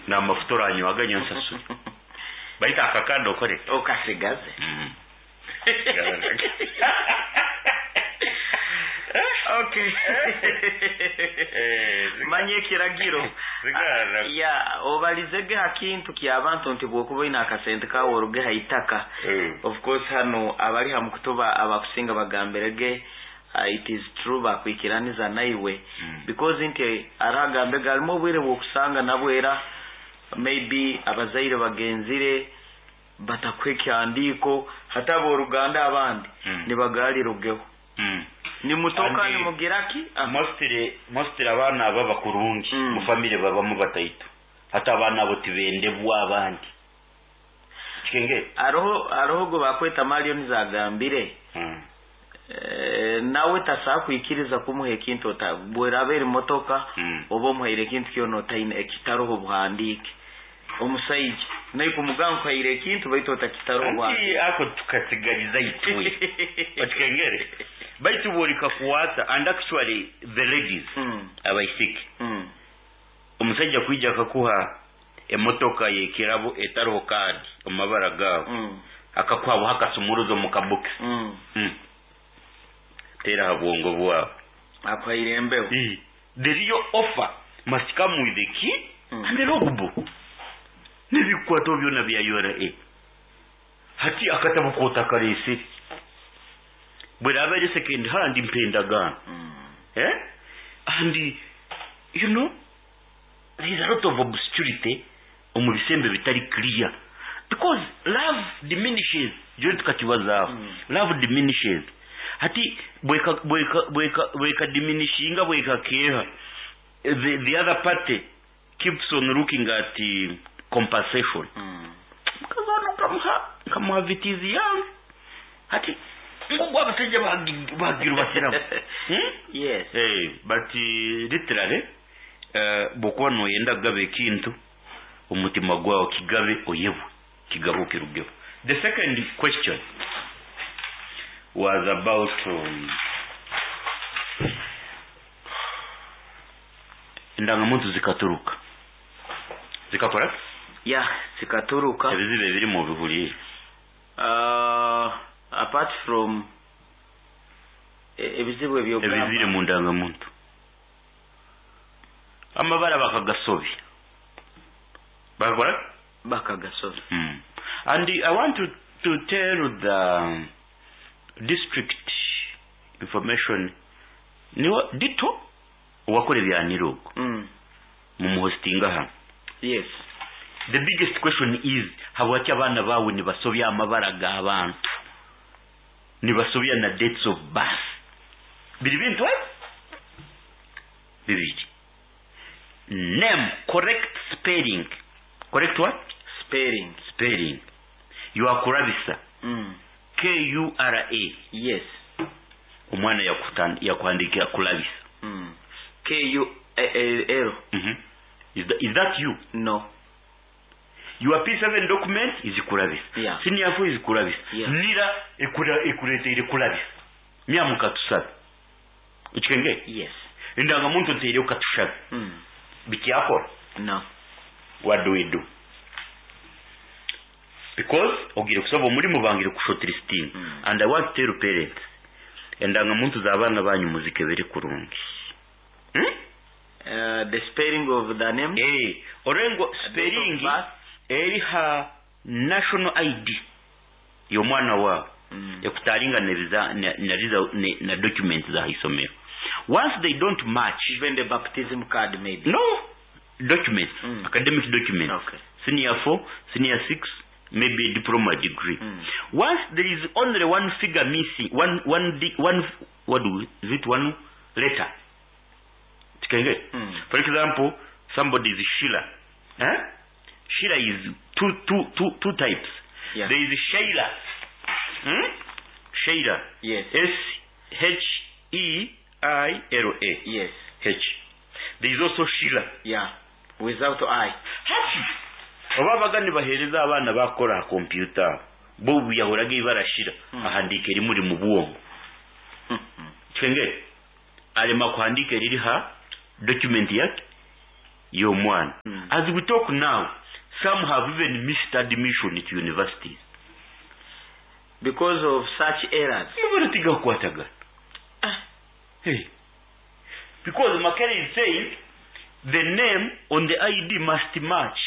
N'amafuta oranywaga nyowe nsasure. Baitu aka kandi okore ki? Okasigaze. Okay. Manya ekiragiro. Ya, obalizege ha kintu ky'abantu nti bwokuba oine akasente kaawe oruge ha itaka. Of course hanu abali ha mukutu abakusinga bagambirege it is true bakwikiraniza naiwe because nti hariho agambege harimu obwire bwokusanga nabwo era maybe abazaire bagenzire batakuha ekihandiiko hati ab'oruganda abandi nibagarirugeho nimutoka nimugira ki? Mostly mostly abaana abo abakurungi mu family babamu bataito hati abaana abo tibendebwa abandi. Kikengere. Haroho haroho ogu bakweta Marion agambire nawe tasobola kwikiriza kumuha ekintu ota bweraba eri motoka oba omuhaire ekintu kyona otaine ekitaroho obuhandiike. Omusaija nawe kumugamba nkuhaire ekintu baitu otakitaroho Anti obuhandiike. ako tukatsigaliza itwe. Okikengere? Baitu bw'orikakwata and actually the ladies abaisiki omusaija kwija akakuha emotoka y'ekirabo etariho kaadi omu mabara gaawe, akakuha buha akasumuruzo omu kabokisi. Teera aha bwongo bwawe. Akuhaire embeho. The real offer must come with a key and a logbook. N'ebikukwataho byona bya ura. Hati akatabo k'otakareesire. Bw'eraaba eri second hand mpa endagaano. And you know. There is a lot of obscurity omu bisembo ebitari clear because love diminishes jori tukakibazaaho love diminishes hati bweka bweka bweka bweka diminishinga bwekakeeha the, the other party keeps on looking at compensation mukazi onu nkamuha nkamuha vitizi yange hati ngu ogu abashaija bagirubatiramu hmm? Yes. Hey, but literally Bw'okuba nooyenda kugaba ekintu, omutima gwawe kigabe oyebwe, kigabe okirugeho. The second question was about endangamuntu zikaturuka. Zikakora ki? Yeah, zikaturuka. Ebizibu ebirimu obihuriire? Apart from ebizibu ebi ogamba. Ebiziri mu ndangamuntu. Amabara bakagasobya. Bakakora ki? Bakagasobya. And I want to, to tell the district information niwe Ditto owakora ebya Nira ogwo mumuhostinga hanu. Yes. The biggest question is habwaki abaana baawe nibasobya amabara g'abantu, nibasobya na dates of birth? Biri bintu ebi bibiri. Name, correct spelling. Correct what? Spelling. Spelling. You are kurabisa. K-U-R-A. Yes. Omwana yakuhandikira kulabisa. K-U-L. Is that, is that you? No. Your P7 document is kulabisa. Yeah. Senior 4 is kulabisa. Yeah. Nira ekureteire kulabisa. Mya mukatushabe. Okikengere? Yes. Endangamuntu nteireho katushabe. Bikyakora? No. What do we do? Because ogiire kusaba omurimo bangire kushortlistinga. And I want to tell parents, endangamuntu z'abaana banyu muzikebere kurungi. Hmm? The spelling of the name? Eh, orengo spelling eri ha national ID y'omwana waawe ekutaringa nebiza na, na, na, na documents za haisomero. Once they don't match, Even the baptism card maybe. No, documents, academic documents. Okay. Senior 4, senior 6, maybe a diploma degree. Once there is only one figure missing, one, one, one, what do we, is it one letter? Tikenge? For example, somebody is Sheila. Eh? Sheila is two types. Yeah. There is Sheila. Sheila. Yes. S-H-E-I-L-A. Yes. H. There is also Sheila. Yeah. Without I. Hati oba babaga nibaheereza abaana baakukora aha kompyuta aho, bo obu yahoraga eibara Sheila, ahandiika erimuri mu bwongo. Kikengere? Arema kuhandiika eriri ha document yake. Y'omwana. As we talk now, some have even missed admission to universities. Because of such errors. Amabara tigakukwatagana. Hey. Because Makerere is saying the name on the ID must match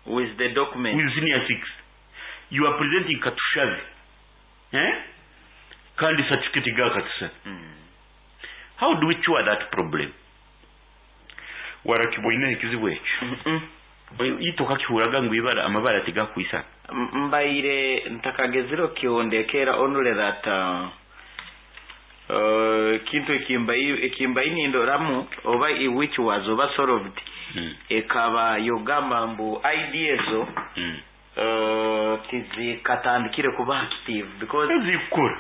with the document. With senior 6. You are presenting Katushabe. Eh? Kandi certificate ga Katushabe. How do we cure that problem? Warakibwoine ekizibu ekyo? Itwe okakihuraga ngu ibara amabara tigakwisana. Mbaire ntakagezire okukihondekera only that ekintu ekimbaire nindoramu oba which was oba solved ekaba yogamba mbu ID ezo tizikatandikire kuba active because zikukora.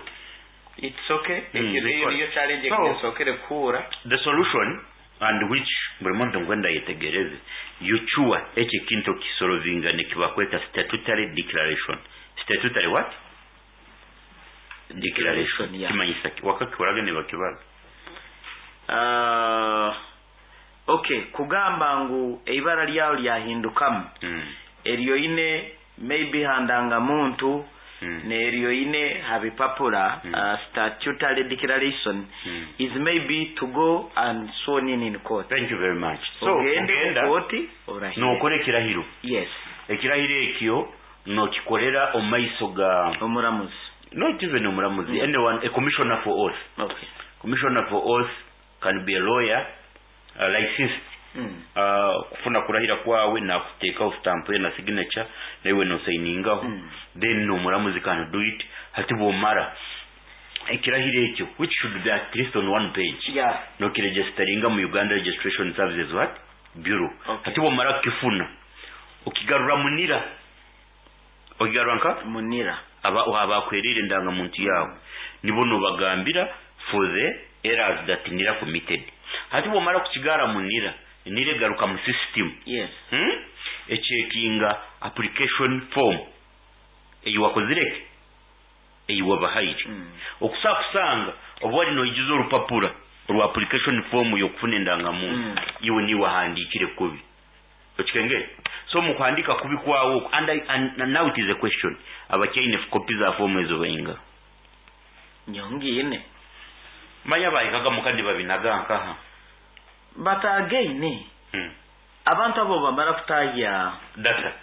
It's okay. Ekyo Zikora. niyo challenge So, ekinsokere kuhura. The solution, and which buri muntu ngwenda yetegereze, yuchua eki kintu kisolovinga nikibakweta statutory declaration. Statutory what? Declaration. Yeah. Kimanyisa ki? Wakakikoraga nibakibaga. Okay, kugamba ngu eibara lyawe lyahindukamu. Eryo ine maybe handanga muntu neryo ine habipapura statutory declaration is maybe to go and sworn in court. Thank you very much. So, ogende ogenda, mu kooti orahire. Nokora ekirahiro. Yes. Ekirahiro ekyo nokikorera omu maiso ga omuramuzi. Not even omuramuzi, anyone, a commissioner for oath. Okay. Commissioner for oath can be a lawyer, licensed. Kufuna kurahira kwawe nakuteekaho stamp ye na signature naiwe nosainingaho. Then omuramuzi can do it. Hati bwomara ekirahiro ekyo, which should be at least on one page, nokiregisteringa mu Uganda Registration Services what Bureau. Okay. Hati bwomara kukifuna okigarura munira, okigarura nka munira abakwerire endangamuntu yawe nibo nobagambira for the errors that nira committed. Hati bwomara kukigara munira, nira egaruka mu system. Yes. Echekinga application form eyi wakozireke eyi wabahaire. Okusakusanga oba wali noijuza orupapura orwa application form yokufuna endangamuntu, iwe niwe wahandikire kubi. Okikengere? So mu kuhandika kubi kwawo okwo, and now it is a question, abakyaine kopi za form ezo bainga nyongiine manya bahikaga mukandi babinaga nkaha. But again, abantu abo bamara kutahya data,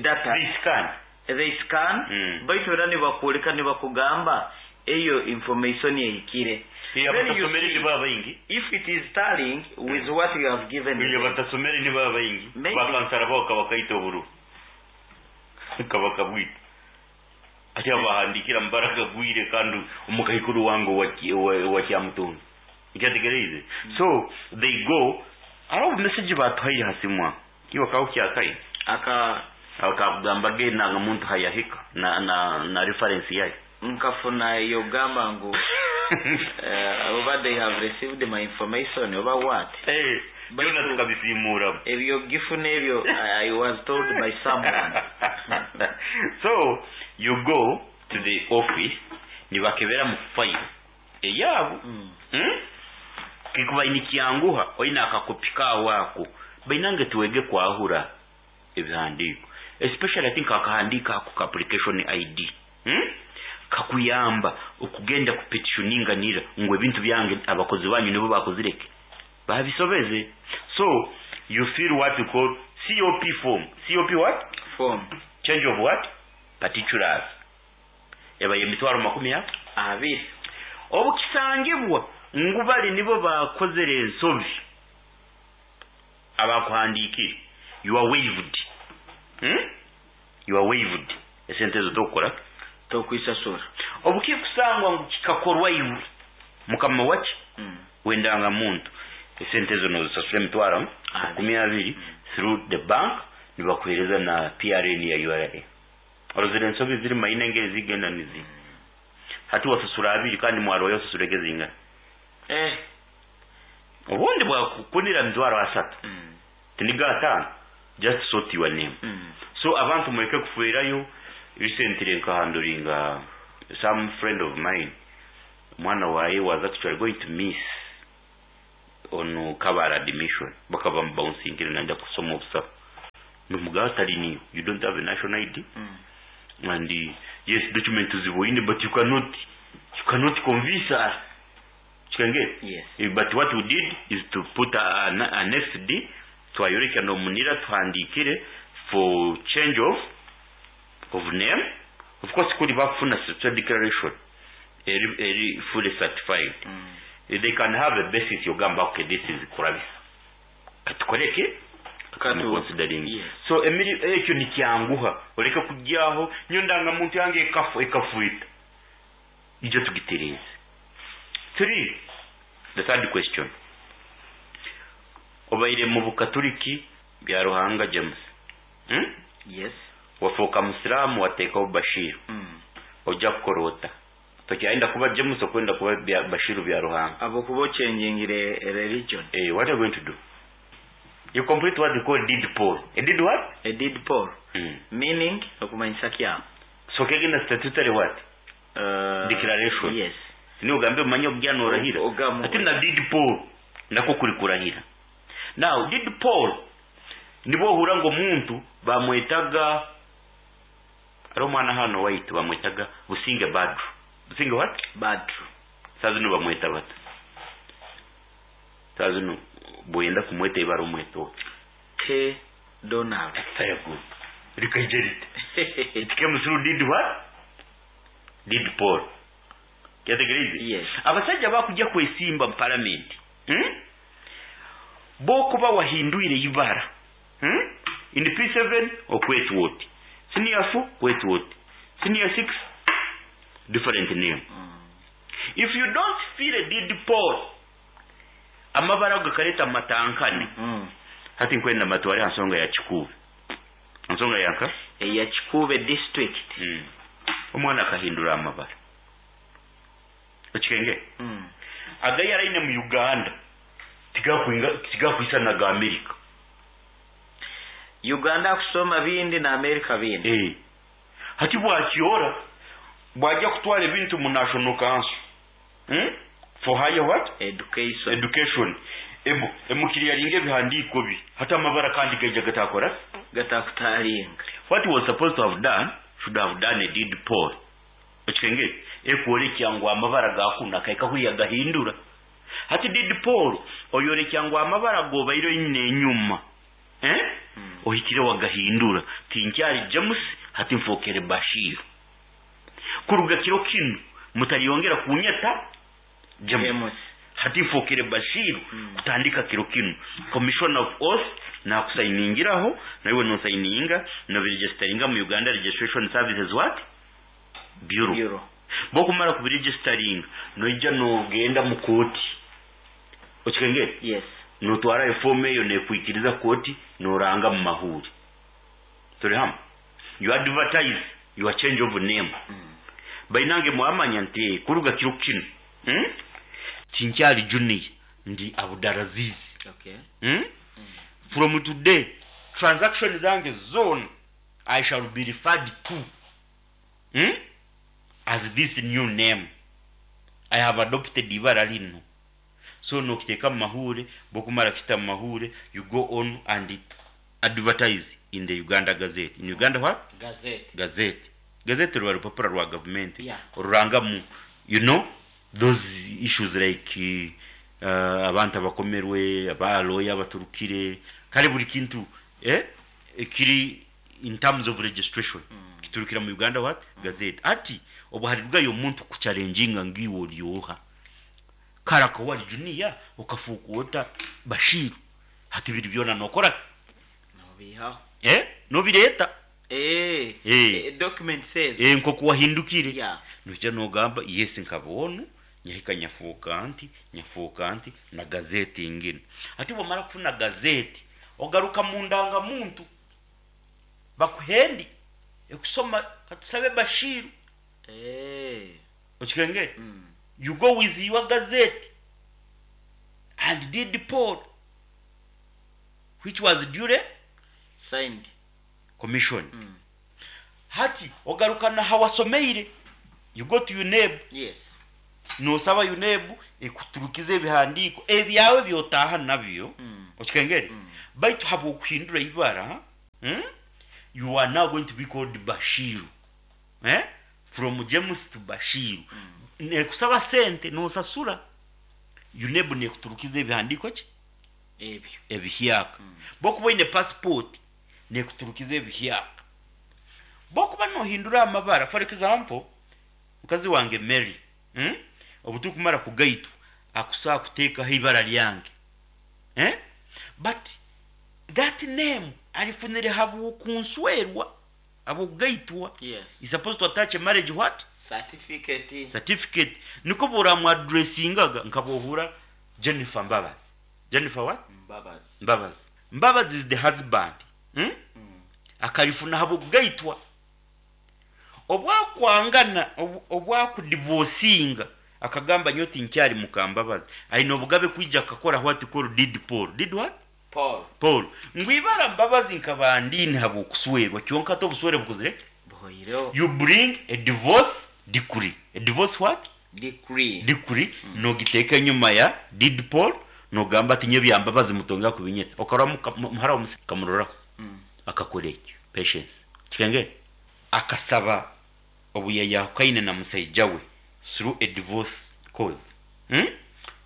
data, they scan. They scan. Baitu era nibakwoleka nibakugamba eyo information ehikire. Iya, Then you batasomere see, ni baba baingi. if it is tallying with what you have given Iya, them. batasomere ni baba baingi. Maybe. Bakansara bao kabakaita oburu kabakabwita ati abahandikira mbaraga gwire kandi omukahikuru wange wa Kyamutundu nkyategereize. So they go aro message batuhaire hasimwa iwe kawo kyakayi aka akagamba ge nanga muntu hayahika na reference yayo. Nkafuna yogamba ngu oba they have received my information oba what. But Byona tukabisimura. Ebyo gifuna ebyo I was told by someone. So you go to the office nibakebera mu file eyabo. Kikuba nikyanguha oina akakopi kawo ako bainange tuwege kwahura ebihandiko, especially I think akahandika ako ka application ID. Kakuyamba okugenda ku petitioninga nira ngo ebintu byange abakozi banyu nibo bakozireke babisobeze. So you fill what you call COP form. COP what? Form. Change of what? Particulars. Eba yemitwaro makumi ya abiri. Obukisangibwa ngu bali nibo bakozere ensobi abakuhandikire, you are waived. You are waived. Esente ezo tokora tokwisasura. Obukikusangwa ngu kikakorwa iwe mukama waki wendanga muntu, esente ezo nozisasura emitwaro makumi abiri through the bank, nibakuhereza na PRN ya URA. Orozire ensobi ziri maina engeri zigenda nizi hati wasasura abiri kandi mwaro yosasura egezinga. Obundi bwakukunira mitwaro asatu. Tiniga atano. Just sort your name. So abantu mweke kufuirayo. Recently nkahanduringa some friend of mine, mwana waye was actually going to miss On Kabale admission bakaba bamubouncingire nayenda kusoma obusaho nomugamba tari niiwe you don't have a national ID and yes document oziboine but you cannot you cannot convince us kikangere Yes. But what we did is to put an annex D twayoreka nomunira tuhandikire for change of of name of course kuri bakufuna certificate declaration eri eri fully certified they can have a basis yogamba okay this is kurabisa katukoreke Katu- considering Yes. so emiri ekyo nikyanguha oleke kujyaho nyo ndangamuntu yange ekafu ekafuita ijo tugitereeze three the third question obaire mu bukaturiki bya ruhanga james Yes. Wafuuka musiraamu wateekaho bashiru ojja kukora ota tokyayenda kuba james okwenda kuba bya bashiru bya ruhanga Abokuba ochangingire religion. Eh, what are you going to do you complete what they call deed poll a deed what A deed poll. Meaning okumanyisa kyamu. So kegenda statutory what Declaration. Yes. Ni ugambe umanye obugya norahira Ogamu. ati na deed poll nako kuri kurahira now deed poll nibo ohura ngo omuntu bamwetaga ari omwana hano waitu bamwetaga businge badru businge what Badru. saa zino bamweta bata saa zino bwenda kumweta ibara omweta oti K Donald. Very good rikaija rite it came through deed what deed poll kyategereize Yes. abasajja bakujja kwesimba mu palamenti Bokuba wahindwire ibara In P7 okwetwa oti senior 4 kwetwa oti senior 6 different name if you don't feel a deed poll amabara ago gakareta amatankane hati nkwenda matware ha nsonga ya kikuube nsonga yanka Eya Kikuube district. Omwana akahindura amabara okikenge agayi araine mu uganda tigakwisana ga america Uganda kusoma bindi na America bindi. Eh. Hati bwakyora bwajja kutwara ebintu mu national council For higher what Education. Education ebo emukiriya ringa ebihandiiko bi hati amabara kandi gaija gatakora Gatakutaringa. What he was supposed to have done should have done a deed poll okikenge ekworekya ngu amabara gakuna kaika huya gahindura hati deed poll oyorekya ngu amabara gobaire oine enyuma eh? Ohikire wagahindura tinkyari james hati nfokere bashiru kuruga kiro kinu mutariyongera kunyeta james James. Hati nfokere bashiru kutandika kiro kinu commission of oath nakusayiningiraho naiwe nosayininga nobiregisteringa mu uganda registration services what bureau, Bureau. Bokumara kubiregisteringa noija nogenda mu kooti okikengere Yes. notwara efomu eyo nekwikiriza kooti noranga mu mahuri turi hamwe you advertise your change of name bainange mwamanya nti kuruga kiro kinu Tinkyali junior ndi abudaraziz Okay. From today transaction zange zone I shall be referred to As this new name I have adopted ibara lino so nokiteeka mu mahure bokumara kita mu mahure you go on and advertise in the uganda gazette in uganda what Gazette. Gazette gazette ruba rupapuro rwa gavumenti Yeah. orurangamu you know those issues like abantu abakomerwe abaloya abaturukire kale buri kintu eh, kiri in terms of registration kiturukira mu uganda what gazette ati obuharirwayo omuntu kuchallenginga ngiwe oryoha karaka wali junior okafuuka ota bashiru hati biri byona nokora Nobihaho. eh nobireta Eh. Eh. Document says. Eh nkoku wahindukire Yeah. nojja nogamba yes nkaba onu nyahika nyafuuka nti nyafuuka nti na gazeti ingine ati bwamara kufuna gazeti ogaruka mu ndangamuntu bakuhendi ekusoma katusabe bashiru Eh. okikengere you go with your gazette and deed poll which was duly Signed. commission hati ogaruka na hawasomeire you go to UNEB Yes. Noosaba UNEB ekuturukize ebihandiiko ebyawe by'otaaha nabyo, okikengere? Baitu habw'okuhindura ibara, you are now going to be called Bashiru, eh, from James to Bashiru. Neekusaba sente, noosasura, UNEB neekuturukiza ebihandiiko ki? Ebyo. Ebihyaka. Bw'okuba oine passport, neekuturukiza ebihyaka. Bw'okuba noohindura amabara, for example, mukazi wange Mary, obu turikumara kugaitwa, akusobola kuteekaho eibara ryange, eh, but that name arifunire habw'okunswerwa, habw'okugaitwa, Yes. He's supposed to attach a marriage what? Certificate. Certificate. Nikwo obu oramuaddressingaga nka bw'ohurra Jennifer Mbabazi. Jennifer what? Mbabazi. Mbabazi. Mbabazi is the husband. Akarifuna ahabw'okugaitwa. Obu akwangana, obu akudivosinga, akagamba nyowe tinkyari muka Mbabazi, aine obugabe kwija akakora what called deed poll. Deed what? Poll. Poll. Ngu ibara Mbabazi nkaba ndiine ahabw'okuswerwa, kyonka hati obuswere bukozire ki? Buhoireho. You bring a divorce decree. A divorce what? Decree. Decree, nogiteeka enyima ya deed poll, nogamba ati nyowe ebya Mbabazi mutongera kubinyeta. Okarora muhara wa Museveni okamuroraho? Akakora ekyo. Patience. Kikengere? Akasaba obu yayahukaine na musaija we through a divorce cause,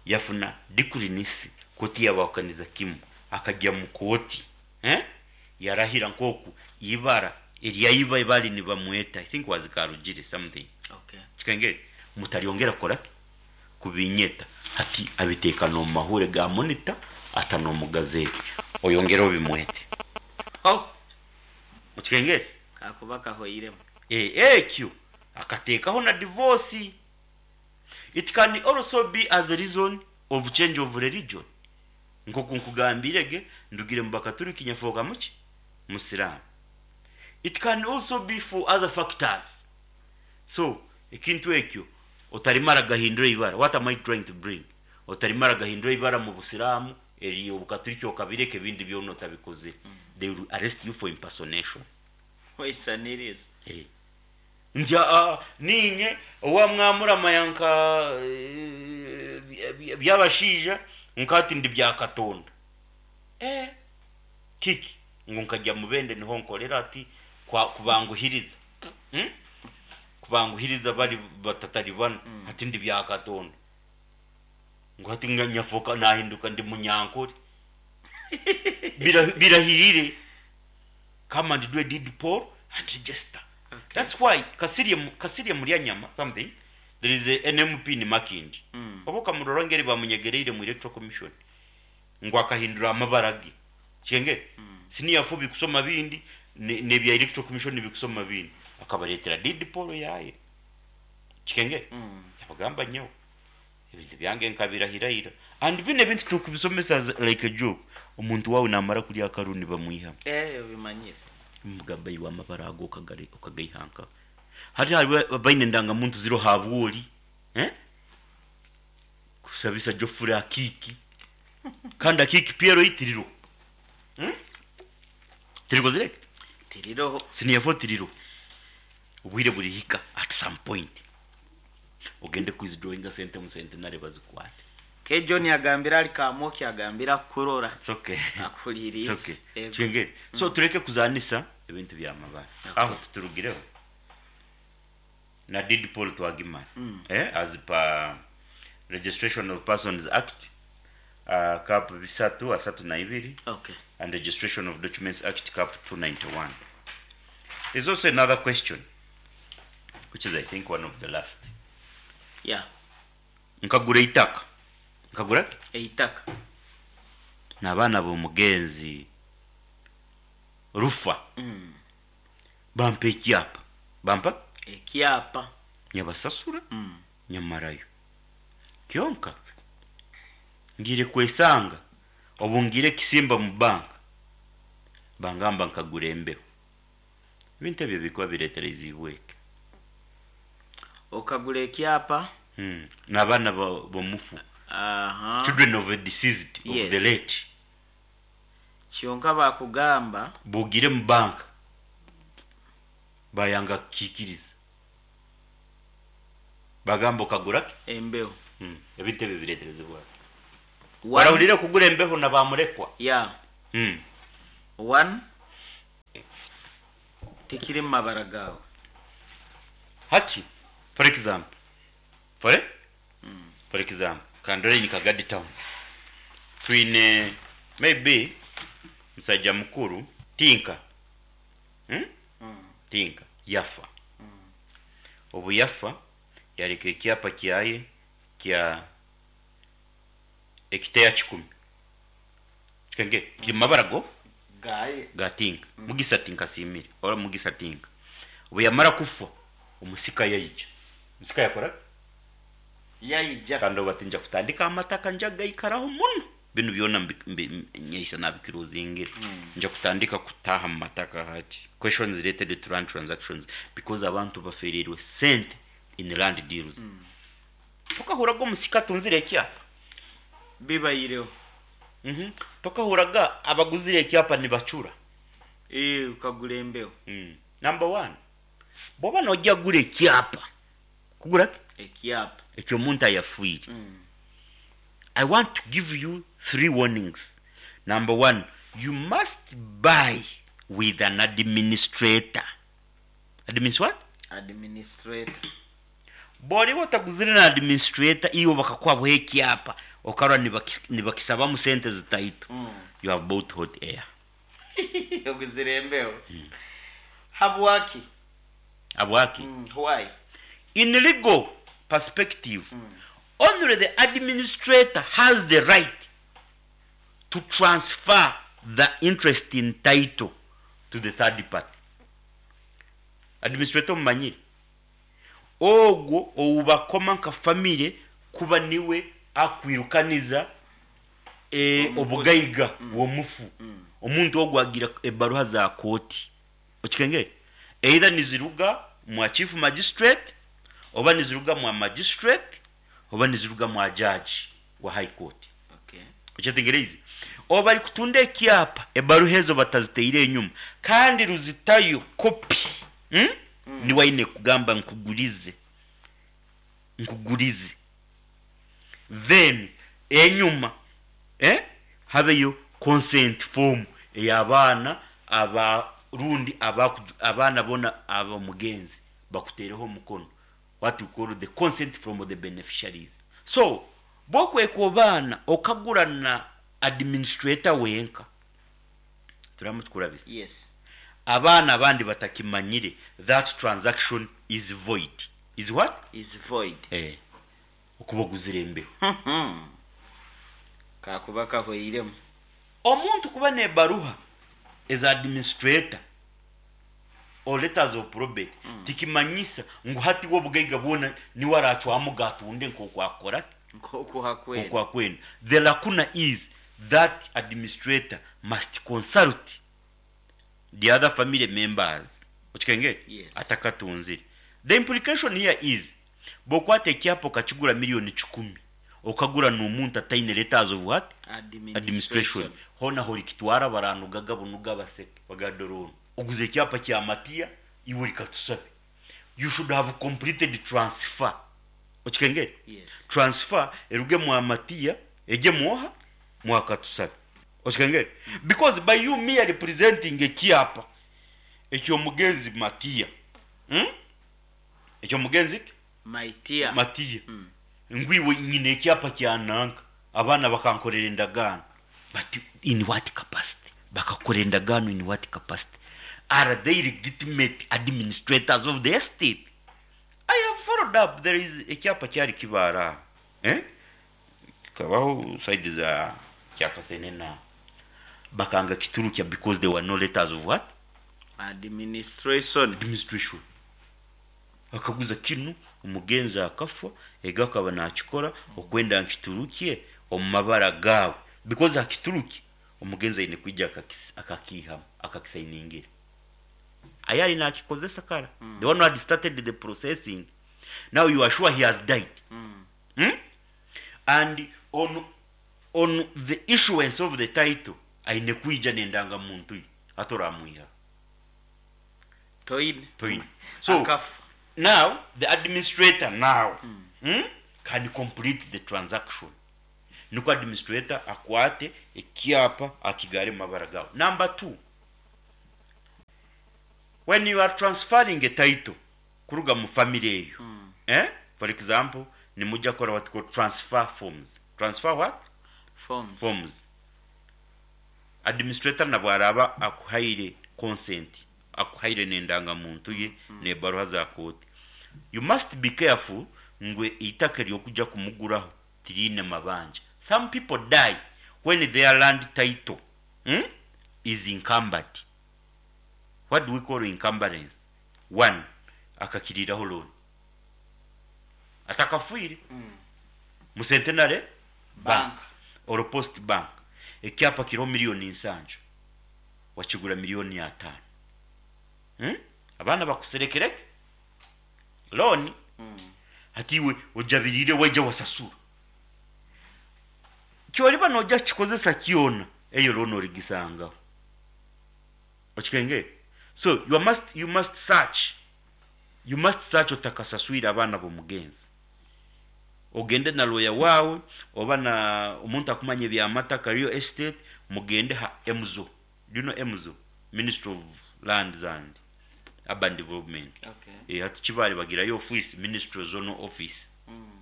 yafuna decree nisi kooti yabahukaniza kimu. Akagya mu kooti, yarahira nk'oku ibara erya iba bali nibamweta, I think was Karugire something. Okay. Kikengere? Mutaryongera kukora ki? Kubinyeta. Hati abiteeka n'omu mahure ga Monitor ata n'omu gazeti. Oyongere obimwete. Oh! Okikengere? Kakuba kahoiremu. Ekyo akateekaho na divorce. It can also be as a reason of change of religion. Nk'oku nkugambiire ge, ndugire mu Bakaturiki nyafooka muki? Musiraamu. It can also be for other factors. So, ekintu ekyo otarimara gahindura eibara. What am I trying to bring? Otarimara gahindura eibara mu Busiraamu, eri Obukaturiki okabireka ebindi byona otabikozire. They will arrest you for impersonation. Waisaniriza. Eh. Nti aa niinye owa mwamuramaya nka Byabashaija nka hati ndi Byakatonda. Eh! Kiki? Ngu nkagya Mubende niho nkorera ati kwa kubanguhiriza. Kubanguhiriza bari batataribana hati ndi Byakatonda. Ngu hati nyafoka nahinduka ndi Munyankore. Birahirire. Come and do a deed poll and register. Okay. That's why Kasirye, Kasirye Mulyanyama something, there is a, an MP in Makindye. Oba okamurora ngeri bamunyegereire mu Electoral Commission ngu akahindura amabara ge. Kyenge? Senior 4 bikusoma bindi n'ebya Electoral Commission bikusoma bindi. Akabareetera deed poll yaaye. Kikenge? Yabagamba nyowe ebintu byange nkabirahira ira. And binu ebintu turikubisomesa as like a joke. Omuntu waawe naamara kurya akaru nibamwihamu. Eh, obimanyire. Mugamba iwe amabara ago okagaiha nkaha? Hati hariho abaine endangamuntu ziriho habwori, eh? Kushabisa Geoffrey Akiiki. Kandi Akiiki PLE tiriroho. Tirikozire ki? Tiriroho. Senior 4 tiriroho. Obwire burihika at some point ogende kwithdrawinga sente omu Centenary bazikwate. Ke John agambire ari Kamoki agambire akukurora. It's okay. Akuhuriirize. It's okay. Ego. Kyengere. So tureke kuzaanisa ebintu by'amabara. Okay. Aho tuturugireho. Na deed poll twagimara. As per Registration of Persons Act, cap bisatu asatu na ibiri. Okay. And Registration of Documents Act cap 291. There's also another question, which is I think one of the last. Yeah. Nkagura eitaka. Nkagura ki? Eitaka. N'abaana b'omugenzi Rufa. Bampa ekyapa. Bampa? Ekyapa. Nyabasasura. Nyamarayo. Kyonka ngiire kwesanga obu ngiire kisimba mu banka bangamba nkagura embeho. Ebintu ebyo bikuba bireetereziibwe ki? Okagura ekyapa? N'abaana b'omufu. Aha. Children of a deceased, of Yes. the late. Kyonka bakugamba. Bw'ogiire mu banka bayanga kukiikiriza. Bagamba okagura ki? Embeho. Ebintu ebi bireeterezibwa ki? One. Warahuriire kugura embeho na baamurekwa? Yeah. One, tikiri mu mabara gaawe. Hati, for example, for, for example, ka ndore nka Gadi Town, twine maybe musajja mukuru Tinka, Tinka yafa. Obu yafa, yareka ekyapa kyaye kya ekiteya kikumi. Kikenge kiri mu mabara go Gaye. Ga Tinka. Mugisa Tinka asiimire ora Mugisa Tinka. Obu yamara kufa, omusika yaija. Omusika yakora ki? Yaija. Kandi obu ati nja kutandika amataka nja kugaikaraho muno. Binu byona mbi nyeisa nabikirozingire. Nja kutandika kutaaha mu mataka hati. Questions related to land transactions because abantu bafereirwe sente in land deals. Tokahuraga omusika atunzire ekyapa? Bibaireho. Tokahuraga abaguzire ekyapa nibacura? Eeh okagura embeho. Number one, bwoba nogya kugura ekyapa, kugura ki? Ekyapa. Eky'omuntu ayafiire. I want to give you three warnings. Number one, you must buy with an administrator. Adminis what? Administrator. Bworiba otaguzire na administrator iwe bakakuhaho ekyapa okarora nibakisabamu sente zitaito, you have bought hot air. Oguzire embeho. Habwaki? Habwaki? Why? In legal perspective, only the administrator has the right to transfer the interest in title to the third party. Administrator omumanyire? Ogwo ou bakoma nka famire kuba niwe akwirukaniza obugaiga bw'omufu. Omuntu ogwo agira ebaruha za kooti. Okikengere? Either niziruga mwa chief magistrate, oba niziruga mwa magistrate, oba niziruga mwa judge wa high court. Okyetegereize? Obu barikutunda ekyapa, ebaruha ezo bataziteire enyuma kandi ruzitayo kopi, niwe aine kugamba nkugurize, nkugurize. Then enyuma habeyo consent form ey'abaana aba rundi abaana boona ab'omugenzi bakuteereho omukono, what we call the consent from the beneficiaries. So bw'okwekobaana okagura na administrator wenka, turamu tukurabisa, abaana abandi batakimanyire, that transaction is void. Is what? Is void. Okuba oguzire embeho. Kakuba kahweiremu. Omuntu kuba n'ebaruha eza administrator or letters of probate tikimanyisa ngu hati we obugaiga bwona niwe aracwamu atunde nk'oku akukora ki? Nk'oku akwenda. Nk'oku akwenda. The lacuna is that administrator must consult the other family members. Okikengere? Yes. Atakatunzire. The implication here is bw'okwata ekyapa okakigura million kikumi okagura n'omuntu ataine letters of what? Administration. Administration. Hoona horikitwara baranugaga bunuga baseke bagambe dora onu oguze ekyapa kya Matiya iwe ori Katusabe. You should have completed transfer. Okikengere? Yes. Transfer eruge mwa Matiya egye mwoha? Mwa Katusabe. Okikengere? Because by you merely presenting ekyapa eky'omugenzi Matiya, Eky'omugenzi ki? Matiya. Matiya. Ngu iwe nyine ekyapa kya nanka, abaana bakankorera endagaano. But in what capacity? Bakakukora endagaano in what capacity? Are they legitimate administrators of the estate? I have followed up, there is ekyapa kyari kibaara aha, eh? Kikabaho side za Kyakasenene aho. Bakanga kiturukya because there were no letters of what? Administration. Administration. Akaguza kinu, omugenzi akafa, ego akaba nakikora okwenda nkiturukye omu mabara gaawe because akiturukye omugenzi aine kwija akakiihamu akakisayiningira. Aye ari nakikozesa kara. The one who had started the processing, now you are sure he has died. And on on the issuance of the title aine kwija n'endangamuntu ye hati oramwihaho. Toine. Toine. So Akafa. Now the administrator now can complete the transaction. Nikwo administrator akwate ekyapa akigare mu mabara gawe. Number 2, when you are transferring a title kuruga mu family eyo, eh? For example, nimujja kukora what called transfer forms. Transfer what? Forms. Forms. Administrator nabwo araba akuhaire consent, akuhaire n'endangamuntu ye n'ebaruha za kooti. You must be careful ngu eitaka ery'okuja kumuguraho tiriine mabanja. Some people die when their land title is encumbered. What do we call encumbrance? One, akakiriiraho loan atakafiire mu Centenary Bank or Post Bank. Ekyapa kiriho miliyoni nsanju, wakigura miliyoni ataano. Abaana bakuserekere loan. Hati iwe ojabiriire waija wasasura. Kyoriba noija kukikozesa kyona, eyo loan origisangaho. Okikengere? So you must, you must search. You must search otakasaswire abaana b'omugenzi. Ogende na lawyer waawe oba na omuntu akumanya eby'amataka, real estate, mugende ha MZO. Do you know MZO? Ministry of Lands and Urban Development. Okay. Eh, hati Kibaale bagirayo office, Ministry Zonal Office.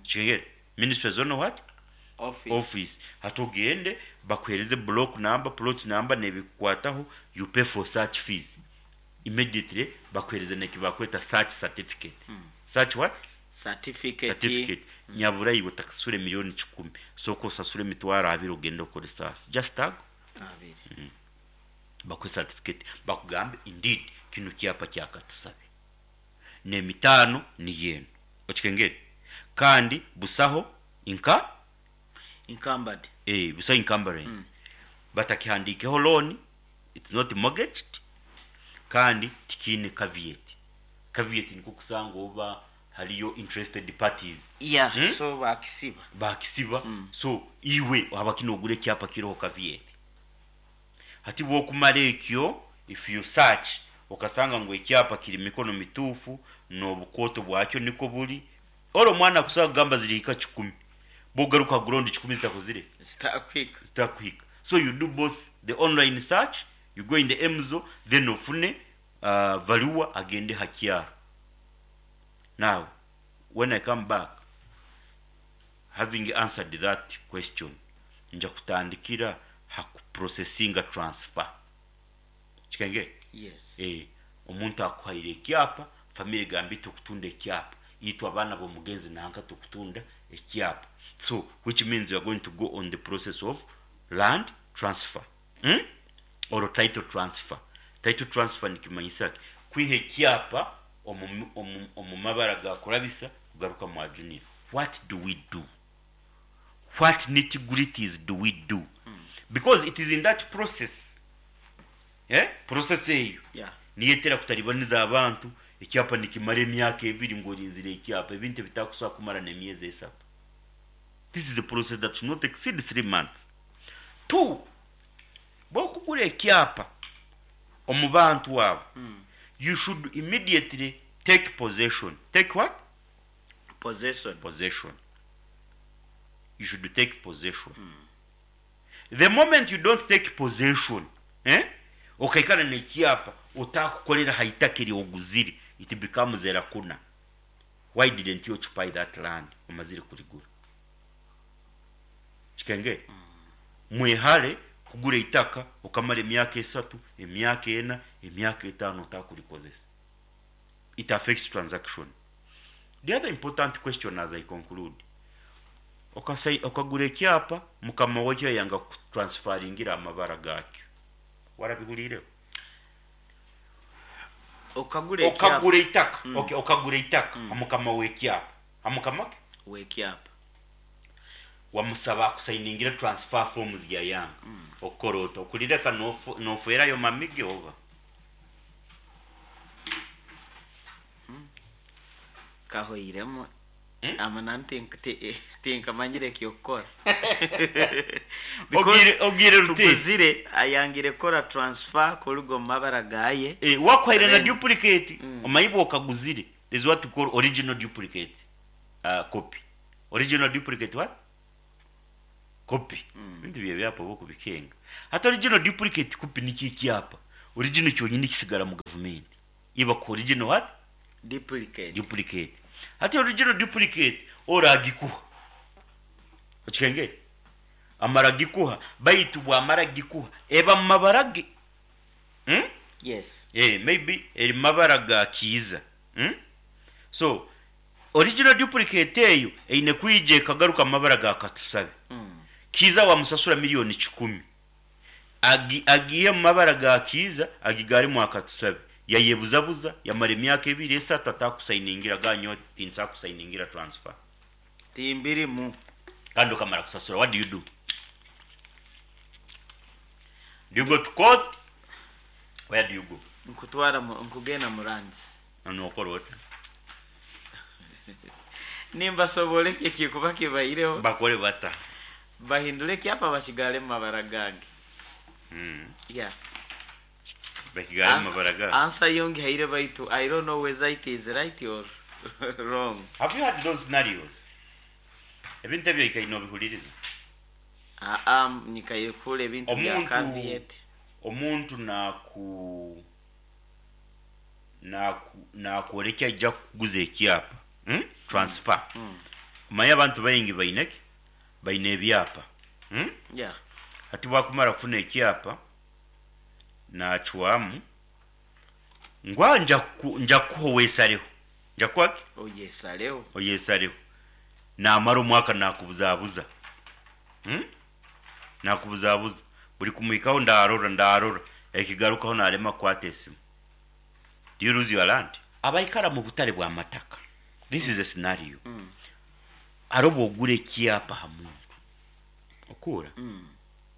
Okikengere? Ministry Zonal what? Office. Office. Hati ogende bakuhereze block number, plot number n'ebikukwataho, you pay for search fees. Immediately bakuhereze n'ekibakweta search certificate. Search what? Certificate. Certificate. Nyabura iwe otakasasura emiliyoni kikumi, sooka osasure emitwaro abiri ogende okore search. Just ago. Abiri. Bakuhe certificate, bakugambe indeed kinu kyapa kyakatusabe. N'emitaano niyo enu. Okikengere? Kandi busaho inka Encumbered. Eh, busaho encumbrance. Batakihandiikeho loan, it's not mortgaged, kandi tikiine caveat. Caveat nikwo kusanga oba hariyo interested parties. Yeah, so bakisiba. Bakisiba. So iwe habaki nogura ekyapa kiriho caveat. Hati bwokumara ekyo, if you search okasanga ngu ekyapa kiri mikono mituufu n'obukooto bwakyo niko buri, ori omwana akusobola kugamba zirihika kikumi. Bwogaruka ground kikumi zitakozire? Zitakuhika. Zitakuhika. So you do both the online search, you go in the MZO, then ofune valuer agende ha kyaro. Now, when I come back, having answered that question, nja kutandikira ha kuprocessinga transfer. Kikenge? Yes. Eh, omuntu akuhaire ekyapa, family egamba tukutunda ekyapa. Itwe abaana b'omugenzi nanka tukutunda ekyapa. So, which means you are going to go on the process of land transfer. Or title transfer. Title transfer nikimanyisa ki? Kwiha ekyapa omu mabara ga kurabisa kugaruka mwa junior. What do we do? What nitty-gritties do we do? Because it is in that process. Process eyo. Niyetera kutaribaniza abantu, ekyapa nikimara emyaka ebiri ngorinzire ekyapa, ebintu ebitakusobola kumara n'emyezi esatu. This is a process that should not exceed 3 months. 2, bwokugura ekyapa omu bantu abo, you should immediately take possession. Take what? Possession. Possession. You should take possession. The moment you don't take possession, okaikara n'ekyapa otakukolera ha itaka eryoguzire, it becomes a lacuna. Why didn't you occupy that land? Omazire kurigura. Kikenge? Mwehare kugura itaka okamara emyaka esatu, emyaka ena, emyaka etaano otakurikozesa. It affects transaction. The other important question as I conclude, okagura ekyapa mukama wakyo yanga kutransferingira amabara gakyo. Warabihuriireho? Okagura ekyapa. Okagura itaka. Okay, okagura itaka. Mukama w'ekyapa. Amukama ke? W'ekyapa. Wamusaba akusayiningira transfer forms ya yanga. Okukora ota? Okurireka nofwerayo mamige oba? Kahoiremu. Amana tinkamanyire ekyokukora. Ogire ruti. Tuguzire ayangire kora transfer kuruga omu mabara gaye. Wakuhaire na duplicate. Omanyi bwokaguzire. There's what we call original duplicate copy. Original duplicate what? Copy. Ebintu by'ebyapa oba okubikenga. Hati original duplicate copy nikyo ekyapa. Original kyonyini kisigara mu gavumenti. Iba ku original what? Duplicate. Duplicate. Hati original duplicate ori agikuha. Okikengere? Amara agikuha, baitu bwamara kugikuha eba mu mabara ge. Hmm? Yes. Eh, maybe eri mu mabara ga Kiiza. Hmm? So, original duplicate eyo eine kwija ekagaruka mu mabara ga Katusabe. Kiiza wamusasura milioni kikumi. Agi, agiihe mu mabara ga Kiiza agigaare mwa Katusabe. Yayebuzabuza, yamara emyaka ebiri esatu atakusayiningira, agamba nyowe tinsobola kusayiningira transfer. Timbirimu. Kandi okamara kusasura, what do you do? Do you go to court? Where do you go? Nkutwara mu, nkugenda mu lands. Nokora ota? Nimbasoboora ekyo ekirikuba kibaireho. Bakore bata? Bahindure ekyapa bakigaare mu mabara gange. Yeah. Bakigaare mu mabara gawe? Answer yo ngihaire baitu I don't know whether it is right or wrong. Have you had those scenarios? Ebintu ebyo oikaire nobihuririza? Aa, nyikaire kuhurra ebintu bya Omuntu caveat. omuntu naku naku nakworekya aija kukuguza ekyapa, hmm? Transfer. Omanyire abantu baingi baine ki? Baine ebyapa. Hmm? Yeah. Hati bwakumara kufuna ekyapa, nacwamu ngu ah nja nja kukuha owesareho. Nja kukuha ki? Oyesareho. Oyesareho. Namara omwaka nakubuzabuza. Hmm? Nakubuzabuza. Buri kumuhikaho ndarora, ndarora. Ekigarukaho narema kukwata esimu. Do you lose your land? Abaikara mu butare bw'amataka. This is a scenario. Hariho obu ogura ekyapa ha muntu. Okuura?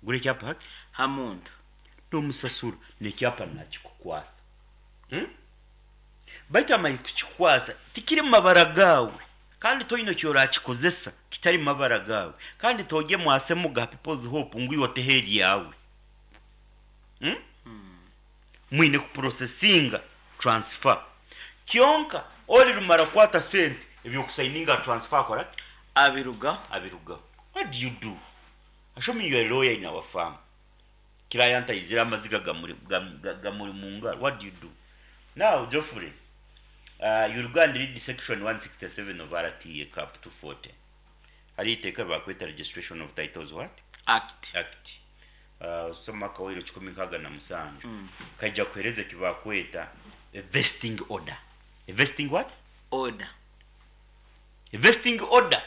Ogura ekyapa haki? Ha muntu. N'omusasura n'ekyapa nakikukwasa. Hmm? Baitu amanyire kukikukwasa tikiri mu mabara gaawe kandi toine eki orakikozesa kitari mu mabara gaawe kandi toogye mwasemuga ha People's Hope ngu iwe oteho eryawe. Hmm? Mwine kuprocessinga transfer. Kyonka ori rumara kukwata sente eby'okusayininga aha transfer akora ki? Abirugaho. Abirugaho. What do you do? Assuming you are a lawyer in our firm. Client aizire amaziga gamuri gamuri mu ngaro, what do you do? Now Geoffrey, you'll go and read section 167 of RTA cap 240. Hariyo eiteeka ribakweta Registration of Titles what? Act. Act. Osome akawairo 167, kaija kuhereza eki bakweta a vesting order. A vesting what? Order. A vesting order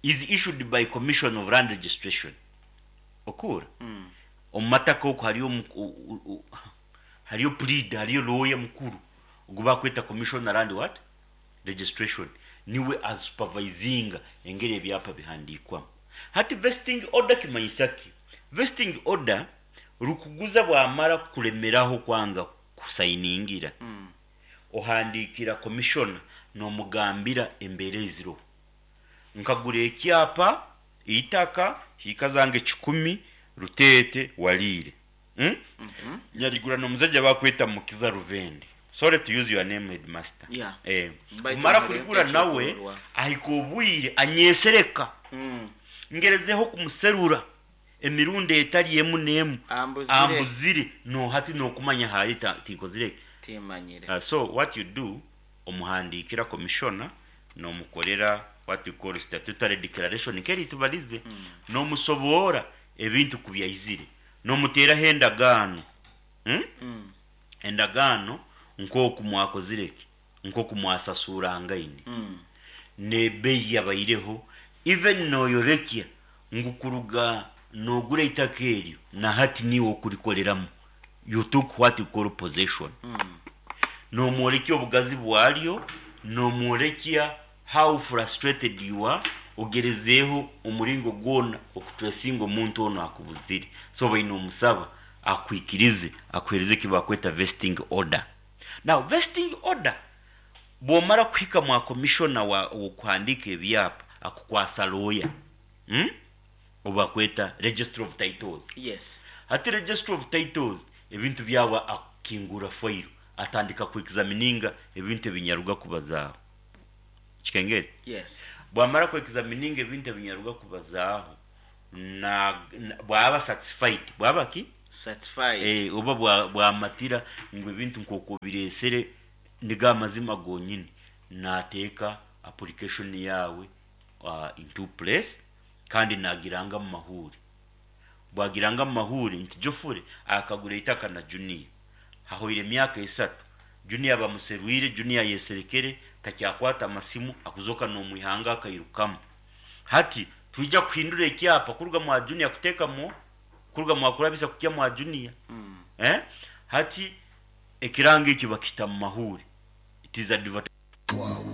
is issued by Commission of Land Registration. Okuura? Omu mataka oku hariyo hariyo puriida, hariyo looya mukuru ogu bakweta Commissioner Land what? Registration. Niwe asupervisinga engeri ebyapa bihandiikwamu. Hati vesting order kimanyisa ki? Vesting order, rukuguza bwamara kukuremeraho kwanga kusayiningira, ohandiikira Commissioner nomugambira embeera eziroho. Nkagura ekyapa, eitaka, hiika zange kikumi, Ruteete, Waliire. Hmm? Nyarigura n'omuzaija bakweta Mukiza Ruvende. Sorry to use your name headmaster. Yeah. Eh. Baitu Kumara mureke kurigura nawe ekyokurorwa. ahika obwire anyesereka. Ngerezeho kumuserura emirundi etari emu n'emu Ambuzire. ambuzire no hati nokumanya ahari tinkozire ki. Timanyire. So what you do omuhandiikira commissioner nomukorera what you call statutory declaration nk'eri tubarize nomusoboora ebintu ku byaizire nomuteeraho endagaano. Hmm? Endagaano nk'oku mwakozire ki? Nk'oku mwasasuurangaine. N'ebeeyi yabaireho even noyorekya ngu kuruga nogura eitaka eryo na hati niiwe okurikoreramu, you took what you call possession. Nomworekya obugazi bwaryo, nomworekya how frustrated you are, ogerezeeho omuringo gwona okutracinga omuntu onu akubuzire. So obaire nomusaba akwikirize akuhereze eki bakweta vesting order. Now vesting order bwomara kuhika mwa commissioner wa ow'okuhandiika ebyapa akukwasa lawyer, hmm? Ou bakweta Registrar of Titles. Yes. Hati Registrar of Titles ebintu byawe akukingurra fayiro. Atandika ku examininga ebintu ebinyaruga kubazaaho. Kikengere? Yes. Bwamara ku examininga ebintu ebinyaruga kubazaaho, na, na bwaba satisfied, bwaba ki? Satisfied. Eh, oba bwa, bwamatira ngu ebintu nk'oku obireesere nigo amazima gonyini, naateeka application yaawe uh, into place kandi naagiranga mu mahuuri. Bwagiranga mu mahuuri nti Geoffrey akagura eitaka na Junior. Hahoire emyaka esatu, Junior bamuserwire, Junior ayeserekere, takyakwata masimu, akuzoka n'omwihanga akairukamu. Hati twija kuhindura ekyapa kuruga mwa Junior kuteeka mu, kuruga mwa Kurabisa kukya mwa Junior. Eh? Hati ekirango ekyo bakita mu mahuuri. It is advertised.